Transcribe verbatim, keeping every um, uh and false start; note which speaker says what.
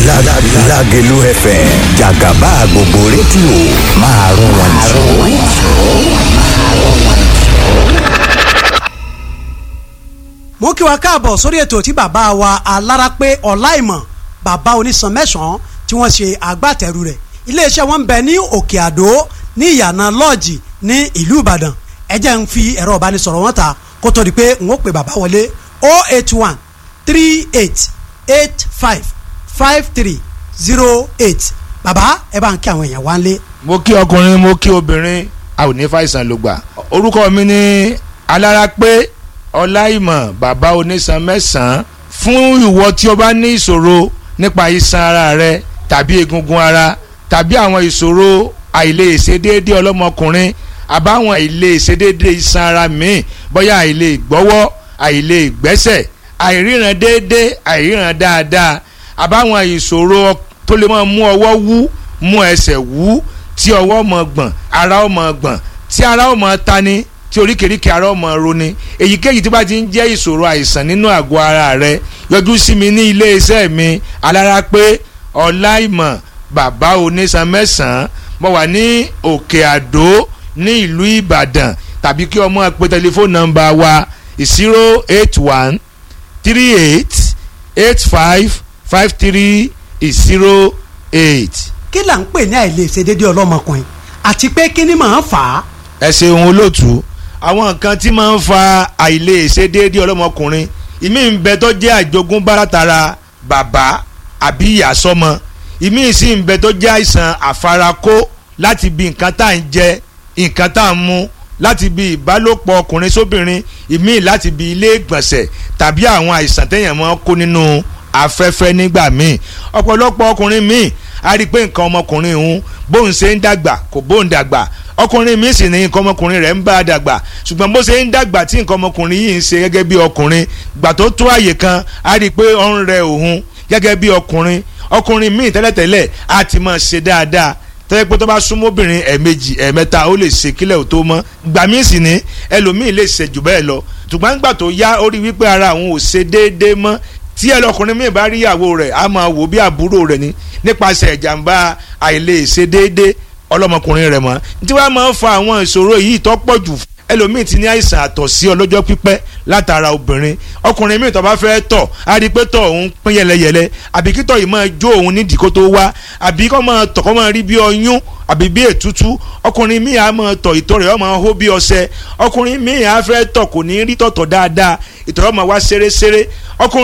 Speaker 1: Lágelú F M jàgàbá gbogbo rédíò máa rún wọn jù.
Speaker 2: Mo kí wa káàbọ̀ sórí ètò tí bàbá wa Alárápé Ọláìmọ̀, bàbá onísan mẹ́sàn-án, tí wọ́n ṣe agbátẹrù rẹ̀. Iléeṣẹ́ wọn ń bẹ ní Òkè Àdó ní ìyànà lọ́ọ̀jì ní ìlú Ìbàdàn. Ẹ jẹ́ ń fi ẹ̀rọ ìbánisọ̀rọ̀ wọn ta kó tó di pé n ó pè bàbá wọlé: oh eight one three eight eight five five three zero eight. Bàbá, ẹ bá ń kí àwọn èèyàn wá ń lé.
Speaker 3: Mo kí ọkùnrin, mo kí obìnrin, a ò ní fàìsàn ló gbà. Orúkọ mi ní Alárápé Ọláìmọ̀, bàbá onísan mẹ́sàn-án. Fún ìwọ tí o bá ní ìṣòro nípa iṣan ara rẹ tàbí egungun ara tàbí àwọn ìṣòro àìlèṣedéédé ọlọ́mọkùnrin àbáwọn àìlèṣedéédé iṣan ara míì, bóyá àìlè gbọ́wọ́, àìlè gbẹ́sẹ̀, àìríran déédé, àìríran dáadáa, àbáwọn ìṣòro tó lè máa mú ọwọ́ wú, mú ẹsẹ̀ wú, tí ọwọ́ mọ̀ gbọ̀n, ara ó mọ̀ gbọ̀n, tí ara ó mọ̀ tani, tí oríkèéríkèé ara ó mọ̀ roni, èyíkéyìí tí bá ti ń jẹ́ ìṣòro àìsàn nínú àgọ́ ara rẹ, yọjú sí mi ní iléeṣẹ́ mi, Alárápé Ọláìmọ̀, bàbá onísan mẹ́sàn-án. Mo wà ní Òkè Àdó ní ìlú Ìbàdàn, tàbí kí ọmọ pè tẹlifóònù nọ́mbà wa: zero eight one three eight eight five five three zero eight.
Speaker 2: Kí là ń pè ní àìlèṣedéédé ọlọ́mọkùnrin, àti pé kí ni màá fà á?
Speaker 3: Ẹ ṣeun, olóòtú. Àwọn nǹkan tí máa ń fa àìlèṣedéédé ọlọ́mọkùnrin, ìmí ń bẹ tó jẹ́ àjogúnbá látara bàbá àbí ìyá sọ́mọ, ìmí sì ń bẹ tó jẹ́ àìsàn àfarakó láti bí nǹkan tá à ń jẹ, nǹkan tá à ń mu, láti bí ìbálòpọ̀ ọkùnrin sóbìnrin, ìmí láti bí ilé ìgbọ̀nsẹ̀ tàbí àwọn àìsàn téèyàn máa ń kó nínú afẹ́fẹ́ nígbà míì. Ọ̀pọ̀lọpọ̀ ọkùnrin míì a rí i pé nǹkan ọmọkùnrin òun bóun ṣe ń dàgbà kò bóun dàgbà. Ọkùnrin míì sì ní nǹkan ọmọkùnrin rẹ̀ ń bá a dàgbà, ṣùgbọ́n bó ṣe ń dàgbà tí nǹkan ọmọkùnrin yìí ń ṣe gẹ́gẹ́ bí ọkùnrin, gbà tó tó àyè kan, a rí i pé ó ń rẹ òun gẹ́gẹ́ bí ọkùnrin. Ọkùnrin míì tẹ́lẹ̀tẹ́lẹ̀ á ti máa ṣe dáadáa, tẹ́lẹ̀ pé tó bá súnmọ́ obìnrin ẹ̀ẹ̀mejì, ẹ̀ẹ̀mẹ́ta, ó lè ṣe kílẹ̀ ò tó mọ́. Gbà míì sì ní ẹlòmíì lè ṣe jù bẹ́ẹ̀ lọ, ṣùgbọ́n gbà tó yá, ó rí wípé ara òun ò ṣe déédéé mọ́. Tí ẹlọkùnrin míì bá rí ìyàwó rẹ̀, á máa wò bí àbúrò rẹ̀ ni nípasẹ̀ ìjàmbá àìlèṣe déédéé ọlọ́mọkùnrin rẹ̀ mọ́. Tí wàá máa ń fa àwọn ìṣòro yìí tó pọ̀ jù, ẹlòmíì ti ní àìsàn àtọ̀sí ọlọ́jọ́ pípẹ́ látara obìnrin. Ọkùnrin míì tó bá fẹ́ tọ̀, á rí i pé tọ̀ òun pín yẹlẹyẹlẹ, àbí kítọ̀ yìí máa jó òun nídìí kó tó wá, àbí kó máa tọ̀ kó máa rí bí ọyún àbí bí ètútú. Ọkùnrin míì á máa tọ̀, ìtọ̀ rẹ̀ ó máa hó bí ọṣẹ. Ọkùnrin míì á fẹ́ tọ̀, kò ní rí tọ̀tọ̀ dáadáa, ìtọ̀ rẹ̀ ó máa wá ṣeréṣeré. Ọkùnrin